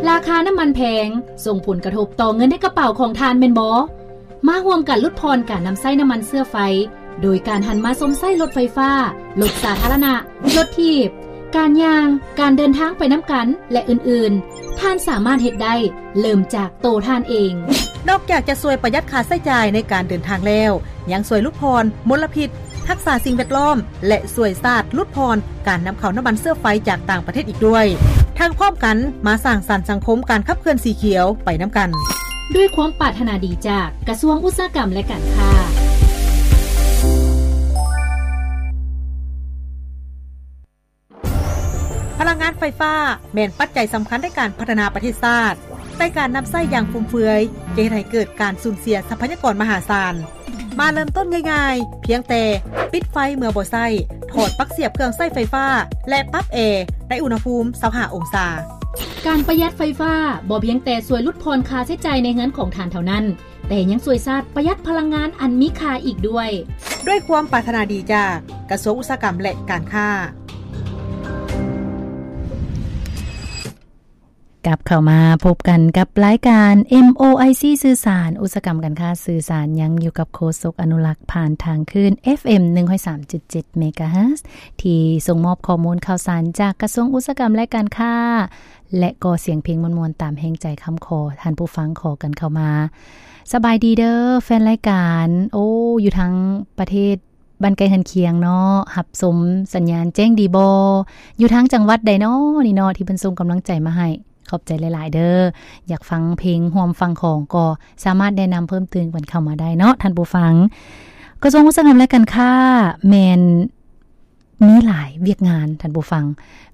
ລາຄານ້ຳມັນແພງ ສົ່ງຜົນກະທົບຕໍ່ເງິນໃນກະເປົາຂອງທ່ານແມ່ນບໍ່? ມາຮ່ວມກັນຫຼຸດຜ່ອນການນຳໃຊ້ນ້ຳມັນເຊື້ອໄຟ ໂດຍການຫັນມາຊົມໃຊ້ລົດໄຟຟ້າ, ລົດສາທາລະນະ, ລົດຖີບ, ການຍ່າງ, ການເດີນທາງໄປນຳກັນ ແລະ ອື່ນໆ. ທ່ານສາມາດເຮັດໄດ້ ເລີ່ມຈາກໂຕທ່ານເອງ. ນອກຈາກຈະຊ່ວຍປະຢັດຄ່າໃຊ້ຈ່າຍໃນການເດີນທາງແລ້ວ, ຍັງຊ່ວຍຫຼຸດຜ່ອນມົນລະພິດ, ຮັກສາສິ່ງແວດລ້ອມ ແລະ ຊ່ວຍຊາດຫຼຸດຜ່ອນການນຳເຂົ້ານ້ຳມັນເຊື້ອໄຟຈາກຕ່າງປະເທດອີກດ້ວຍ. ທັງພ້ອມກັນມາສ້າງສັນສັງຄົມການຂັບເຄື່ອນສີຂຽວໄປນຳກັນ. ດ້ວຍຄວາມປາດຖະໜາດີຈາກກະຊວງອຸດສາຫະກຳ ແລະ ການຄ້າ. ພະລັງງານໄຟຟ້າແມ່ນປັດໄຈສຳຄັນໃນການພັດທະນາປະເທດຊາດ, ແຕ່ການນຳໃຊ້ຢ່າງຟຸມເຟືອຍຈະເຮັດໃຫ້ເກີດການສູນເສຍຊັບພະຍາກອນມະຫາສານ. ມາເລີ່ມຕົ້ນງ່າຍໆ, ພຽງແຕ່ປິດໄຟເມື່ອບໍ່ໃຊ້, ຖອດປັກສຽບເຄື່ອງໃຊ້ໄຟຟ້າ ແລະ ປັບແອໃນອຸນຫະພູມຊາວຫ້າອົງສາ. ການປະຢັດໄຟຟ້າບໍ່ພຽງແຕ່ຊ່ວຍຫຼຸດຜ່ອນຄ່າໃຊ້ຈ່າຍໃນເຮືອນຂອງທ່ານເທົ່ານັ້ນ, ແຕ່ຍັງຊ່ວຍຊາດປະຢັດພະລັງງານອັນມີຄ່າອີກດ້ວຍ. ດ້ວຍຄວາມປາດຖະໜາດີຈາກກະຊວງອຸດສາຫະກຳ ແລະ ການຄ້າ. ກັບເຂົ້າມາພົບກັນກັບລາຍການ ເອັມ ໂອ ໄອ ຊີ ສື່ສານ ອຸດສາຫະກຳການຄ້າສື່ສານ ຍັງຢູ່ກັບໂຄສົກອະນຸລັກ ຜ່ານທາງຄື້ນ ເອັຟເອັມ ໜຶ່ງຮ້ອຍສາມຈຸດເຈັດ ເມກາເຮີດ ທີ່ສົ່ງມອບຂໍ້ມູນຂ່າວສານຈາກກະຊວງອຸດສາຫະກຳ ແລະ ການຄ້າ ແລະ ກໍສຽງເພງມ່ວນໆ ຕາມແຮງໃຈຄຳຂໍ ທ່ານຜູ້ຟັງຂໍກັນເຂົ້າມາ. ສະບາຍດີເດີ ແຟນລາຍການ ໂອ້ ຢູ່ທາງປະເທດ ບ້ານໃກ້ເຮືອນຄຽງເນາະ ຮັບຊົມສັນຍານແຈ້ງດີບໍ່? ຢູ່ທາງຈັງຫວັດໃດເນາະນີ້ເນາະ ທີ່ເພິ່ນສົ່ງກຳລັງໃຈມາໃຫ້? ຂອບໃຈຫຼາຍໆເດີ. ຢາກຟັງເພງຮ່ວມຟັງຂອງ ກໍສາມາດແນະນຳເພີ່ມຕື່ມກັນເຂົ້າມາໄດ້ເນາະທ່ານຜູ້ຟັງ. ກະຊວງອຸດສາຫະກຳ ແລະ ການຄ້າ ແມ່ນມີຫຼາຍວຽກງານທ່ານຜູ້ຟັງ,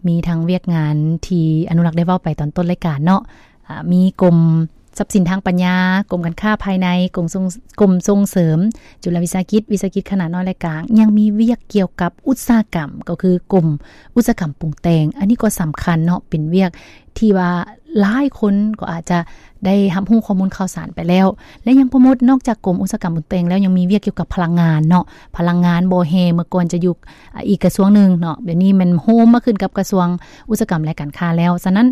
ມີທັງວຽກງານທີ່ອະນຸລັກໄດ້ເວົ້າໄປຕອນຕົ້ນລາຍການເນາະ, ອາ ມີກົມ ຊັບສິນທາງປັນຍາ, ກົມການຄ້າພາຍໃນ, ກົມສົ່ງ ກົມສົ່ງເສີມຈຸລະວິສາຫະກິດ, ວິສາຫະກິດຂະໜາດນ້ອຍ ແລະ ກາງ, ຍັງມີວຽກກ່ຽວກັບອຸດສາຫະກຳ ກໍຄືກົມອຸດສາຫະກຳປຸງແຕ່ງ. ອັນນີ້ກໍສຳຄັນເນາະ, ເປັນວຽກທີ່ວ່າຫຼາຍຄົນກໍອາດຈະໄດ້ຮັບຮູ້ຂໍ້ມູນຂ່າວສານໄປແລ້ວ ແລະ ຍັງໂປຣໂມດ ນອກຈາກກົມອຸດສາຫະກຳປຸງແຕ່ງແລ້ວ ຍັງມີວຽກກ່ຽວກັບພະລັງງານເນາະ, ພະລັງງານບໍ່ແຮ່ ເມື່ອກ່ອນຈະຢູ່ ອາ ອີກກະຊວງໜຶ່ງເນາະ, ດຽວນີ້ແມ່ນໂຮມມາຂຶ້ນກັບກະຊວງອຸດສາຫະກຳ ແລະ ການຄ້າແລ້ວ. ສະນັ້ນ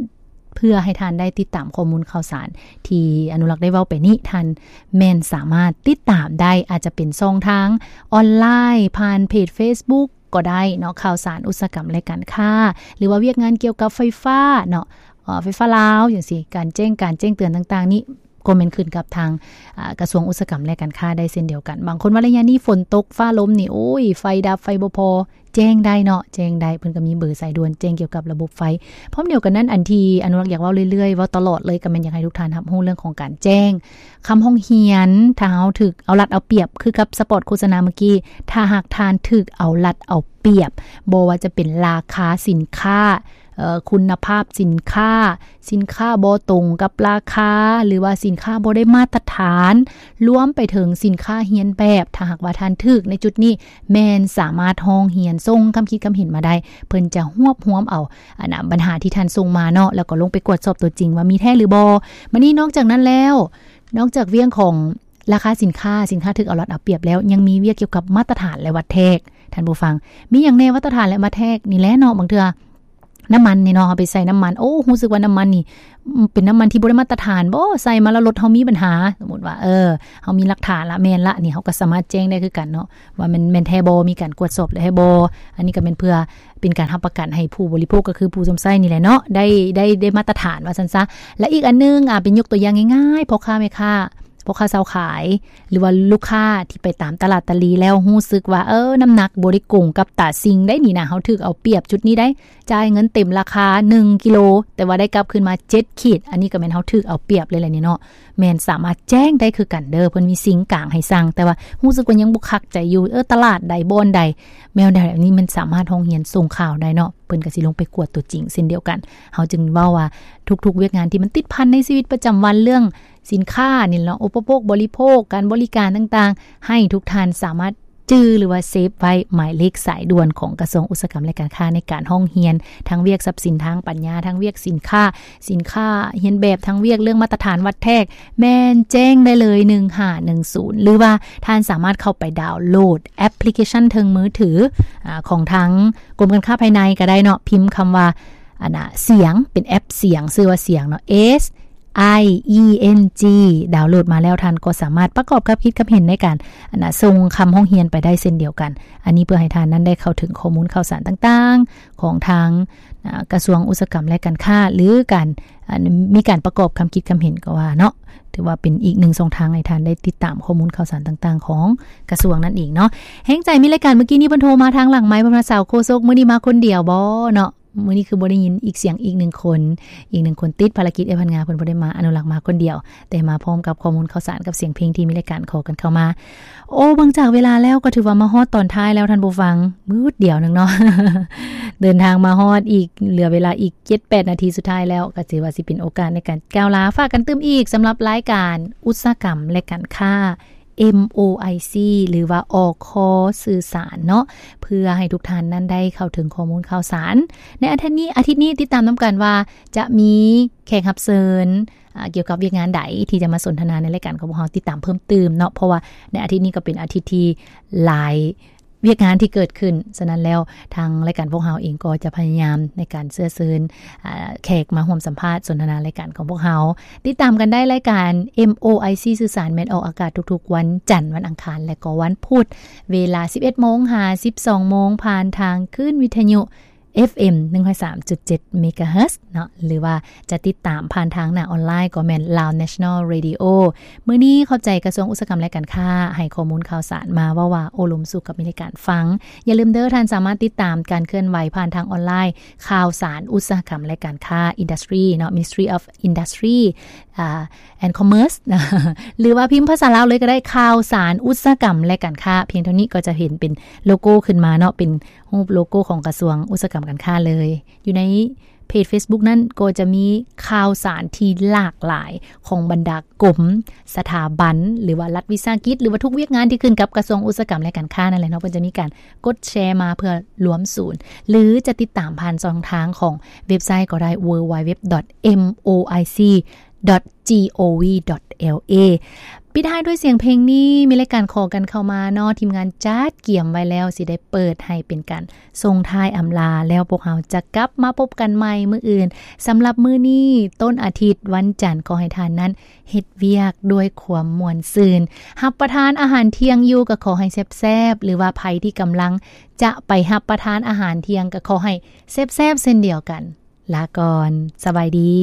ເພື່ອໃຫ້ທ່ານໄດ້ຕິດຕາມຂໍ້ມູນຂ່າວສານທີ່ອະນຸລັກໄດ້ເວົ້າໄປນີ້, ທ່ານແມ່ນສາມາດຕິດຕາມໄດ້, ອາດຈະເປັນຊ່ອງທາງອອນລາຍ ຜ່ານເພຈເຟສບຸກກໍໄດ້ເນາະ, ຂ່າວສານອຸດສາຫະກຳ ແລະ ການຄ້າ ຫຼືວ່າວຽກງານກ່ຽວກັບໄຟຟ້າເນາະ, ເອີ ໄຟຟ້າລາວຈັ່ງຊີ້, ການແຈ້ງການແຈ້ງເຕືອນຕ່າງໆນີ້ ກໍແມ່ນຂຶ້ນກັບທາງ ອາ ກະຊວງອຸດສາຫະກຳ ແລະ ການຄ້າໄດ້ເຊັ່ນດຽວກັນ. ບາງຄົນວ່າໄລຍະນີ້ຝົນຕົກຟ້າລົມນີ້ ໂອ້ຍ ໄຟດັບ ໄຟບໍ່ພໍ ແຈ້ງໄດ້ເນາະ, ແຈ້ງໄດ້, ເພິ່ນກໍມີເບີສາຍດ່ວນແຈ້ງກ່ຽວກັບລະບົບໄຟ. ພ້ອມດຽວກັນນັ້ນ ອັນທີ່ອະນຸລັກຢາກເວົ້າເລື້ອຍໆ ເວົ້າຕະຫຼອດເລີຍ ກໍແມ່ນຢາກໃຫ້ທຸກທ່ານຮັບຮູ້ເລື່ອງຂອງການແຈ້ງຄຳຮ້ອງຮຽນ. ຖ້າເຮົາຖືກເອົາລັດເອົາປຽບ ຄືກັບສະປອດໂຄສະນາເມື່ອກີ້, ຖ້າຫາກທ່ານຖືກເອົາລັດເອົາປຽບ ບໍ່ວ່າຈະເປັນລາຄາສິນຄ້າ, ເອີ ຄຸນນະພາບສິນຄ້າ, ສິນຄ້າບໍ່ຕົງກັບລາຄາ ຫຼືວ່າສິນຄ້າບໍ່ໄດ້ມາດຕະຖານ, ລວມໄປເຖິງສິນຄ້າຮຽນແບບ. ຖ້າຫາກວ່າທ່ານຖືກໃນຈຸດນີ້, ແມ່ນສາມາດຮ້ອງຮຽນ ສົ່ງຄຳຄິດຄຳເຫັນມາໄດ້, ເພິ່ນຈະຮວບຮວມເອົາ ອັນນະ ບັນຫາທີ່ທ່ານສົ່ງມາເນາະ, ແລ້ວກໍລົງໄປກວດສອບຕົວຈິງວ່າມີແທ້ຫຼືບໍ່. ມານີ້ ນອກຈາກນັ້ນແລ້ວ, ນອກຈາກວຽກຂອງລາຄາສິນຄ້າ, ສິນຄ້າຖືກເອົາລັດເອົາປຽບແລ້ວ, ຍັງມີວຽກກ່ຽວກັບມາດຕະຖານ ແລະ ວັດແທກ. ທ່ານຜູ້ຟັງ, ມີຫຍັງແດ່ມາດຕະຖານ ແລະ ວັດແທກນີ້ແຫຼະເນາະ? ບາງເທື່ອ ນ້ຳມັນນີ້ເນາະ, ເຮົາໄປໃສ່ນ້ຳມັນ, ໂອ້ ຮູ້ສຶກວ່ານ້ຳມັນນີ້ ອືມ ເປັນນ້ຳມັນທີ່ບໍ່ໄດ້ມາດຕະຖານບໍ? ໃສ່ມາແລ້ວລົດເຮົາມີບັນຫາ. ສົມມຸດວ່າ ເອີ ເຮົາມີຫຼັກຖານລະ, ແມ່ນລະ, ອັນນີ້ເຮົາກໍສາມາດແຈ້ງໄດ້ຄືກັນເນາະ ວ່າແມ່ນ, ແມ່ນແທ້ບໍ? ມີການກວດສອບແລ້ວແທ້ບໍ? ອັນນີ້ກໍແມ່ນເພື່ອເປັນການຮັບປະກັນໃຫ້ຜູ້ບໍລິໂພກ ກໍຄືຜູ້ຊົມໃຊ້ນີ້ແຫຼະເນາະ ໄດ້, ໄດ້, ໄດ້ມາດຕະຖານວ່າຊັ້ນຊະ. ແລະ ອີກອັນໜຶ່ງ, ອາ, ເປັນຍົກຕົວຢ່າງງ່າຍໆ, ພໍ່ຄ້າແມ່ຄ້າ ພໍ່ຄ້າຊາວຂາຍ ຫຼືວ່າລູກຄ້າທີ່ໄປຕາມຕະຫຼາດຕະຫຼີແລ້ວຮູ້ສຶກວ່າ ເອີ ນ້ຳໜັກບໍ່ໄດ້ກົງກັບຕາສິ່ງໃດນີ້ນະ, ເຮົາຖືກເອົາປຽບຈຸດນີ້ໄດ໋, ຈ່າຍເງິນເຕັມລາຄາໜຶ່ງກິໂລ ແຕ່ວ່າໄດ້ກັບຄືນມາເຈັດຂີດ, ອັນນີ້ກໍແມ່ນເຮົາຖືກເອົາປຽບເລີຍແຫຼະນີ້ເນາະ. ແມ່ນສາມາດແຈ້ງໄດ້ຄືກັນເດີ, ເພິ່ນມີຊິງກາງໃຫ້ສັ່ງ, ແຕ່ວ່າຮູ້ສຶກວ່າຍັງບໍ່ຄັກໃຈຢູ່, ເອີ ຕະຫຼາດໃດ ບ່ອນໃດ ແນວໃດ, ອັນນີ້ມັນສາມາດຮ້ອງຮຽນສົ່ງຂ່າວໄດ້ເນາະ, ເພິ່ນກໍຊິລົງໄປກວດຕົວຈິງເຊັ່ນດຽວກັນ. ເຮົາຈຶ່ງເວົ້າວ່າທຸກໆວຽກງານທີ່ມັນຕິດພັນໃນຊີວິດປະຈຳວັນ, ເລື່ອງ ສິນຄ້ານີ້ເນາະ, ອຸປະໂພກບໍລິໂພກ, ການບໍລິການຕ່າງໆ, ໃຫ້ທຸກທ່ານສາມາດຈື່ ຫຼືວ່າເຊບໄວ້ໝາຍເລກສາຍດ່ວນຂອງກະຊວງອຸດສາຫະກຳ ແລະ ການຄ້າ ໃນການຮ້ອງຮຽນ ທັງວຽກຊັບສິນທາງປັນຍາ, ທັງວຽກສິນຄ້າ, ສິນຄ້າຮຽນແບບ, ທັງວຽກເລື່ອງມາດຕະຖານວັດແທກ, ແມ່ນແຈ້ງໄດ້ເລີຍ ໜຶ່ງຫ້າໜຶ່ງສູນ ຫຼືວ່າທ່ານສາມາດເຂົ້າໄປດາວໂຫຼດແອັບພລິເຄຊັນເທິງມືຖື ອາ ຂອງທາງກົມການຄ້າພາຍໃນກໍໄດ້ເນາະ, ພິມຄຳວ່າ ອັນນະ ສຽງ ເປັນແອັບສຽງ ຊື່ວ່າສຽງເນາະ S I E N G ດາວໂຫຼດມາແລ້ວ ທ່ານກໍສາມາດປະກອບຄຳຄິດຄຳເຫັນໃນການ ອັນນະ ສົ່ງຄຳຮ້ອງຮຽນໄປໄດ້ເຊັ່ນດຽວກັນ. ອັນນີ້ເພື່ອໃຫ້ທ່ານນັ້ນໄດ້ເຂົ້າເຖິງຂໍ້ມູນຂ່າວສານຕ່າງໆ ຂອງທາງ ອາ ກະຊວງອຸດສາຫະກຳ ແລະ ການຄ້າ ຫຼື ການ ອັນ ມີການປະກອບຄຳຄິດຄຳເຫັນກໍວ່າເນາະ, ຖືວ່າເປັນອີກໜຶ່ງຊ່ອງທາງໃຫ້ທ່ານໄດ້ຕິດຕາມຂໍ້ມູນຂ່າວສານຕ່າງໆ ຂອງກະຊວງນັ້ນເອງເນາະ. ແຮງໃຈມີລາຍການ ມື້ກີ້ນີ້ເພິ່ນໂທມາທາງຫຼັງໄມ ເພິ່ນວ່າ ສາວໂຄສົກ ມື້ນີ້ມາຄົນດຽວບໍເນາະ? ມື້ນີ້ຄືບໍ່ໄດ້ຍິນອີກສຽງອີກໜຶ່ງຄົນ, ອີກໜຶ່ງຄົນຕິດພາລະກິດ ເອື້ອຍພັນງາ ເພິ່ນບໍ່ໄດ້ມາ, ອະນຸລັກມາຄົນດຽວ ແຕ່ມາພ້ອມກັບຂໍ້ມູນຂ່າວສານກັບສຽງເພງທີ່ມີລາຍການຂໍກັນເຂົ້າມາ. ໂອ້ ເບິ່ງຈາກເວລາແລ້ວກໍຖືວ່າມາຮອດຕອນທ້າຍແລ້ວທ່ານຜູ້ຟັງ, ມືດດຽວໜຶ່ງເນາະ ເດີນທາງມາຮອດອີກ ເຫຼືອເວລາອີກເຈັດແປດນາທີສຸດທ້າຍແລ້ວ, ກໍຖືວ່າຊິເປັນໂອກາດໃນການກ່າວລາ ຝາກກັນຕື່ມອີກ ສຳລັບລາຍການອຸດສາຫະກຳ ແລະ ການຄ້າ MOIC ຫຼືວ່າ ອຄ ສື່ສານເນາະ, ເພື່ອໃຫ້ທຸກທ່ານນັ້ນໄດ້ເຂົ້າເຖິງຂໍ້ມູນຂ່າວສານ. ໃນອາທິດນີ້ ອາທິດນີ້ຕິດຕາມນຳກັນວ່າຈະມີແຂກຮັບເຊີນ ອາ ກ່ຽວກັບວຽກງານໃດທີ່ຈະມາສົນທະນາໃນລາຍການຂອງພວກເຮົາ, ຕິດຕາມເພີ່ມຕື່ມເນາະ, ເພາະວ່າໃນອາທິດນີ້ກໍເປັນອາທິດທີ່ຫຼາຍວຽກງານທີ່ເກີດຂຶ້ນ. ສະນັ້ນແລ້ວ ທາງລາຍການພວກເຮົາເອງກໍຈະພະຍາຍາມໃນການເຊື້ອເຊີນ ອາ ແຂກມາຮ່ວມສຳພາດສົນທະນາລາຍການຂອງພວກເຮົາ. ຕິດຕາມກັນໄດ້ລາຍການ MOIC ສື່ສານ ແມ່ນອອກອາກາດທຸກໆວັນຈັນ, ວັນອັງຄານ ແລະ ກໍວັນພຸດ ເວລາສິບເອັດໂມງຫາສິບສອງໂມງ ຜ່ານທາງຄື້ນວິທະຍຸ ເອັຟເອັມ ໜຶ່ງຮ້ອຍສາມຈຸດເຈັດ ເມກາເຮີດເນາະ, ຫຼືວ່າຈະຕິດຕາມຜ່ານທາງໜ້າອອນລາຍກໍແມ່ນ Lao National Radio. ມື້ນີ້ຂອບໃຈກະຊວງອຸດສາຫະກຳ ແລະ ການຄ້າ ໃຫ້ຂໍ້ມູນຂ່າວສານມາເວົ້າວ່າໂອ້ລົມສູ່ກັບມີລາຍການຟັງ. ຢ່າລືມເດີ, ທ່ານສາມາດຕິດຕາມການເຄື່ອນໄຫວຜ່ານທາງອອນລາຍ ຂ່າວສານອຸດສາຫະກຳ ແລະ ການຄ້າ Industry ເນາະ, Ministry of Industry ອາ and Commerce ຫຼືວ່າພິມພາສາລາວເລີຍກໍໄດ້, ຂ່າວສານອຸດສາຫະກຳ ແລະ ການຄ້າ. ພຽງເທົ່ານີ້ກໍຈະເຫັນເປັນໂລໂກ້ຂຶ້ນມາເນາະ, ເປັນ ຮູບໂລໂກ້ຂອງກະຊວງອຸດສາຫະກຳ ການຄ້າເລີຍ. ຢູ່ໃນເພຈ Facebook ນັ້ນກໍຈະມີຂ່າວສານທີ່ຫຼາກຫຼາຍຂອງບັນດາກົມ, ສະຖາບັນ ຫຼືວ່າລັດວິສາຫະກິດ ຫຼືວ່າທຸກວຽກງານທີ່ຂຶ້ນກັບກະຊວງອຸດສາຫະກຳ ແລະ ການຄ້ານັ້ນແຫຼະເນາະ. ເພິ່ນຈະມີການກົດແຊມາເພື່ອລວມສູນ ຫຼືຈະຕິດຕາມຜ່ານຊ່ອງທາງຂອງເວັບໄຊກໍໄດ້ www.moic.gov.la. ປິດທ້າຍດ້ວຍສຽງເພງນີ້, ມີລາຍການຂໍກັນເຂົ້າມາເນາະ, ທີມງານຈັດກຽມໄວ້ແລ້ວ, ຊິໄດ້ເປີດໃຫ້ເປັນການ ສົ່ງທ້າຍອຳລາ ແລ້ວພວກເຮົາຈະກັບມາພົບກັນໃໝ່ມື້ອື່ນ. ສຳລັບມື້ນີ້ ຕົ້ນອາທິດ ວັນຈັນ, ຂໍໃຫ້ທ່ານນັ້ນເຮັດວຽກດ້ວຍຄວາມມ່ວນຊື່ນ, ຮັບປະທານອາຫານທ່ຽງຢູ່ກໍຂໍໃຫ້ແຊບໆ ຫຼືວ່າໃຜທີ່ກຳລັງຈະໄປຮັບປະທານອາຫານທ່ຽງກໍຂໍໃຫ້ແຊບໆເຊັ່ນດຽວກັນ. ລາກ່ອນ, ສະບາຍດີ.